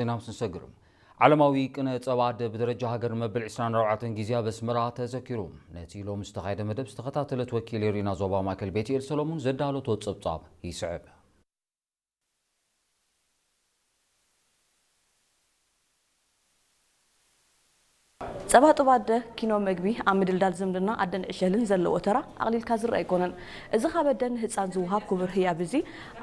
ዜና ምስ ንሰግር፣ ዓለማዊ ቅነ ጸባ ኣደ ብደረጃ ሃገር ንመበል ዕስራን ኣርባዕተን ግዜ ኣብ ኣስመራ ተዘኪሩ። ነቲ ሎሚ ዝተኻየደ መደብ ዝተኸታተለት ወኪል ሪና ዞባ ማእከል ቤትኤል ሰሎሙን ዘዳለቶ ጸብጻብ ይስዕብ። ጸባጥባ ኣደ ኪኖ መግቢ ኣብ ምድልዳል ዝምድና ኣደን ዕሸልን ዘለዎ ተራ ኣቕሊልካ ዝረኣ ኣይኮነን። እዚ ካብ ኣደ ንህጻን ዝወሃብ ክቡር ህያብ እዚ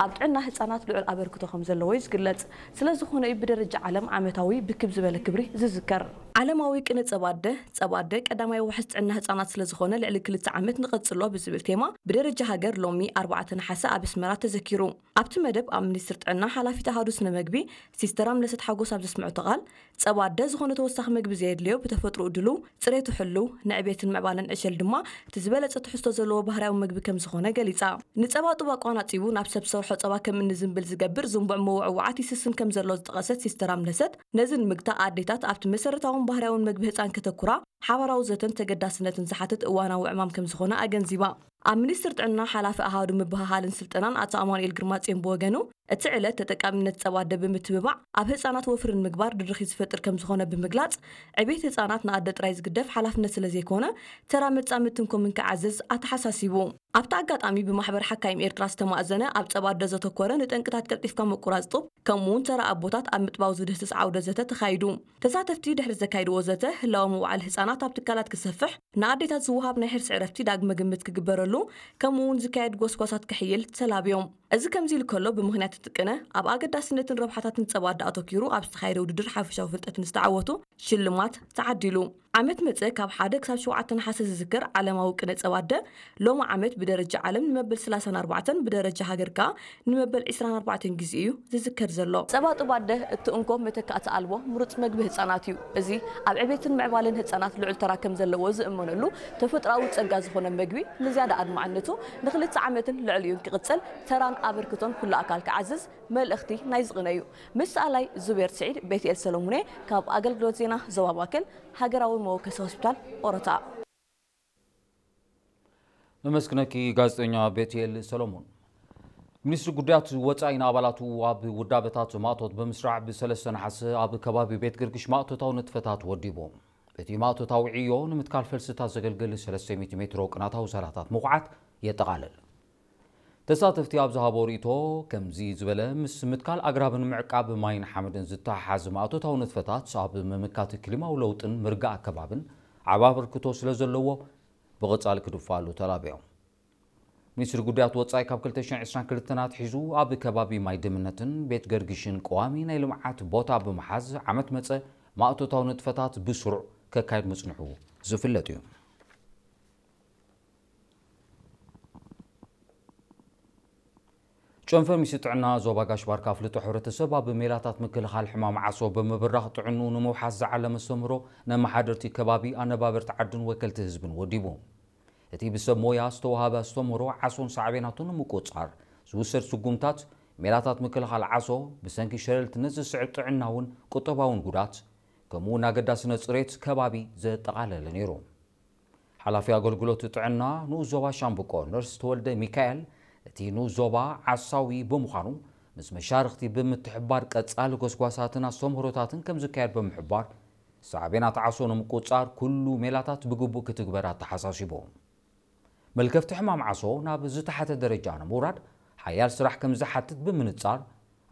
ኣብ ጥዕና ህጻናት ልዑል ኣበርክቶ ከም ዘለዎ እዩ ዝግለጽ። ስለ ዝኾነ እዩ ብደረጃ ዓለም ዓመታዊ ብክብ ዝበለ ክብሪ ዝዝከር። ዓለማዊ ቅነ ጸባ ኣደ፣ ጸባ ኣደ ቀዳማይ ዋሕስ ጥዕና ህጻናት ስለ ዝኾነ ልዕሊ ክልተ ዓመት ንቐጽሎ ብዝብል ቴማ ብደረጃ ሃገር ሎሚ ኣርባዕተ ነሓሰ ኣብ ኣስመራ ተዘኪሩ። ኣብቲ መደብ ኣብ ሚኒስትር ጥዕና ሓላፊት ኣሃዱ ስነ መግቢ ሲስተር ኣምለሰት ሓጎስ ኣብ ዘስምዐቶ ቃል፣ ጸባ ኣደ ዝኾነ ተወሳኺ መግቢ ዘየድልዮ ብተፈጥሮኡ ድሉው፣ ጽሬቱ ሕሉው፣ ንዕቤትን ምዕባለን ዕሸል ድማ እቲ ዝበለጸ ትሕዝቶ ዘለዎ ባህርያዊ መግቢ ከም ዝኾነ ገሊጻ። ንጸባ ጡብ ኣቋናጺቡ ናብ ሰብ ሰርሖ ጸባ ከም እንዝንብል ዝገብር ዝንቡዕ ምውዕዋዓት ይስስን ከም ዘሎ ዝጠቐሰት ሲስተር ኣምለሰት፣ ነዚ ንምግታእ ኣዴታት ኣብቲ መሰረታውን ባህርያውን መግቢ ህጻን ከተኩራ ሓባራዊ ዘተን ተገዳስነትን ዝሓትት እዋናዊ ዕማም ከም ዝኾነ ኣገንዚባ። ኣብ ሚኒስትር ጥዕና ሓላፊ ኣሃዱ ምብህሃልን ስልጠናን ኣቶ ኣማኑኤል ግርማጽዮን ብወገኑ፣ እቲ ዕለት ተጠቃምነት ጸባ ኣደ ብምትብባዕ ኣብ ህጻናት ወፍሪ ንምግባር ድርኺት ዝፈጥር ከም ዝኾነ ብምግላጽ፣ ዕቤት ህጻናት ንኣደ ጥራይ ዝግደፍ ሓላፍነት ስለ ዘይኮነ፣ ተራ መጻምድትን ኮምን ክዓዝዝ ኣተሓሳሲቡ። ኣብቲ ኣጋጣሚ ብማሕበር ሓካይም ኤርትራ ዝተማእዘነ ኣብ ጸባ ኣደ ዘተኮረ ንጠንቅታት ቀልጢፍካ ምቁራጽ ጡብ፣ ከምኡ እውን ተራ ኣቦታት ኣብ ምጥባው ዝድህስስ ዓውደ ዘተ ተኻይዱ። ተሳተፍቲ ድሕሪ ዘካይድዎ ዘተ፣ ህላወ ምውዓል ህጻናት ኣብ ትካላት ክሰፍሕ፣ ንኣዴታት ዝወሃብ ናይ ሕርሲ ዕረፍቲ ዳግመ ግምት ክግበረሉ፣ ከምኡ እውን ዝካየድ ጎስጓሳት ክሕይል ተላብዮም። እዚ ከምዚ ኢሉ ከሎ፣ ብምኽንያት እቲ ቅነ ኣብ ኣገዳስነትን ረብሓታትን ጸባ ኣደ ኣተኪሩ ኣብ ዝተኻየደ ውድድር ሓፈሻዊ ፍልጠት ንዝተዓወቱ ሽልማት ተዓዲሉ። ዓመት መጸ ካብ ሓደ ክሳብ ሸውዓተ ነሓሰ ዝዝከር ዓለማዊ ቅነ ጸባ ኣደ፣ ሎሚ ዓመት ብደረጃ ዓለም ንመበል ሰላሳን ኣርባዕተን፣ ብደረጃ ሃገር ከኣ ንመበል ዕስራን ኣርባዕተን ግዜ እዩ ዝዝከር ዘሎ። ጸባ ጡብ ኣደ እቲ እንኮ መተካእቲ ኣልቦ ምሩጽ መግቢ ህጻናት እዩ። እዚ ኣብ ዕቤትን ምዕባለን ህጻናት ልዑል ተራ ከም ዘለዎ ዝእመነሉ ተፈጥሮኣዊ ጸጋ ዝኾነ መግቢ ንዝያዳ ኣድማዕነቱ ንኽልተ ዓመትን ልዕሊኡን ክቕጽል ተራን ኣበርክቶን ኩሉ ኣካል ክዓዝዝ መልእኽቲ ናይ ዝቕነ እዩ። ምስ ሰኣላይ ዙቤር ስዒድ፣ ቤትኤል ሰሎሙኔ ካብ ኣገልግሎት ዜና ዞባ ማእከል ሃገራዊ መወከሲ ሆስፒታል ኦሮታ። ነመስግነኪ ጋዜጠኛ ቤትኤል ሰሎሞን። ሚኒስትሪ ጉዳያት ወጻኢ ንኣባላቱ ኣብ ውዳበታት ማእቶት ብምስራዕ ብሰለስተ ነሓሰ ኣብ ከባቢ ቤት ገርግሽ ማእቶታዊ ንጥፈታት ወዲቡ። እቲ ማእቶታዊ ዕዮ ንምትካል ፈልስታት ዘገልግል ሰለስተ ሚእቲ ሜትሮ ቅናታዊ ሳላታት ምኹዓት የጠቓልል። ተሳተፍቲ ኣብ ዝሃቦ ርእይቶ፣ ከምዚ ዝበለ ምስ ምትካል ኣግራብን ምዕቃብ ማይን ሓመድን ዝተሓሓዝ ማእቶታዊ ንጥፈታት ኣብ ምምካት ክሊማዊ ለውጥን ምርጋእ ኣከባብን ዓቢ ኣበርክቶ ስለ ዘለዎ ብቐጻሊ ክድፋኣሉ ተላቢዮም። ሚኒስትሪ ጉዳያት ወጻኢ ካብ ክልተ ሽሕን ዕስራን ክልተን ኣትሒዙ ኣብ ከባቢ ማይ ድምነትን ቤት ገርግሽን ቀዋሚ ናይ ልምዓት ቦታ ብምሓዝ ዓመት መጸ ማእቶታዊ ንጥፈታት ብስሩዕ ከካይድ ምጽንሑ ዝፍለጥ እዩ። ጨንፈር ሚኒስትሪ ጥዕና ዞባ ጋሽ ባርካ ኣፍልጦ ሕብረተሰብ ኣብ ሜላታት ምክልኻል ሕማም ዓሶ ብምብራኽ ጥዕንኡ ንምውሓስ ዝዓለመ ኣስተምህሮ ነመሓደርቲ ከባቢ ኣነባበርቲ ዓድን ወከልቲ ህዝብን ወዲቡ። እቲ ብሰብ ሞያ ዝተዋሃበ ኣስተምህሮ ዓሶን ሳዕቤናቱን ንምቁጽጻር ዝውሰድ ስጉምታት ሜላታት ምክልኻል ዓሶ ብሰንኪ ሸለልትነት ዝስዕብ ጥዕናውን ቁጠባውን ጉዳት ከምኡ እውን ኣገዳስነት ጽሬት ከባቢ ዘጠቓለለ ነይሩ። ሓላፊ ኣገልግሎት ጥዕና ንኡስ ዞባ ሻምብቆ ነርስ ተወልደ ሚካኤል፣ እቲ ንኡስ ዞባ ዓሳዊ ብምዃኑ ምስ መሻርኽቲ ብምትሕባር ቀጻሊ ጎስጓሳትን ኣስተምህሮታትን ከም ዝካየድ ብምሕባር፣ ሳዕቤናት ዓሶ ንምቁጽጻር ኩሉ ሜላታት ብግቡእ ክትግበር ኣተሓሳሲቡ። መልከፍቲ ሕማም ዓሶ ናብ ዝተሓተ ደረጃ ንምውራድ ሓያል ስራሕ ከም ዝሓትት ብምንጻር፣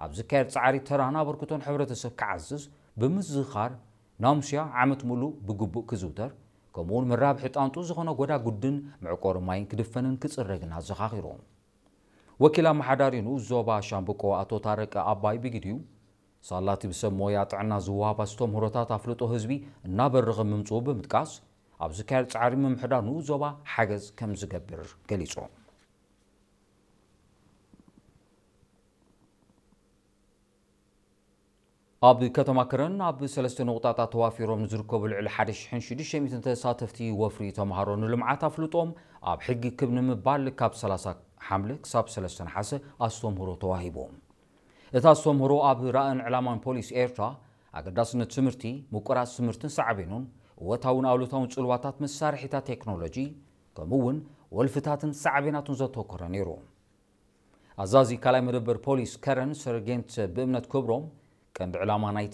ኣብ ዝካየድ ጻዕሪ ተራን ኣበርክቶን ሕብረተሰብ ክዓዝዝ ብምዝኻር፣ ናሙስያ ዓመት ሙሉእ ብግቡእ ክዝውተር፣ ከምኡውን መራብሒ ጣንጡ ዝኾነ ጎዳጉድን መዕቆሪ ማይን ክድፈንን ክጽረግን ኣዘኻኺሩ። ወኪል ኣመሓዳሪ ንኡስ ዞባ ሻምብቆ ኣቶ ታረቀ ኣባይ ብግዲኡ፣ ሳላቲ ብሰብ ሞያ ጥዕና ዝወሃብ ኣስተምህሮታት ኣፍልጦ ህዝቢ እናበረኸ ምምጽኡ ብምጥቃስ፣ ኣብ ዝካየድ ጻዕሪ ምምሕዳር ንኡስ ዞባ ሓገዝ ከም ዝገብር ገሊጹ። ኣብ ከተማ ከረን ኣብ ሰለስተ ነቑጣታት ተዋፊሮም ንዝርከቡ ልዕሊ ሓደ ሽሕን ሽዱሽተ ሚእትን ተሳተፍቲ ወፍሪ ተምሃሮ ንልምዓት ኣፍልጦም ኣብ ሕጊ ክብ ንምባል ካብ ሰላሳ ሓምለ ክሳብ ሰለስተ ነሓሰ ኣስተምህሮ ተዋሂቡ። እቲ ኣስተምህሮ ኣብ ራእን ዕላማን ፖሊስ ኤርትራ፣ ኣገዳስነት ትምህርቲ፣ ምቁራጽ ትምህርትን ሳዕቤኑን፣ እወታውን ኣሉታውን ጽልዋታት መሳርሒታት ቴክኖሎጂ፣ ከምኡ እውን ወልፍታትን ሳዕቤናቱን ዘተኮረ ነይሩ። ኣዛዚ ካልኣይ መደበር ፖሊስ ከረን ሰርጌንት ብእምነት ክብሮም፣ ቀንዲ ዕላማ ናይቲ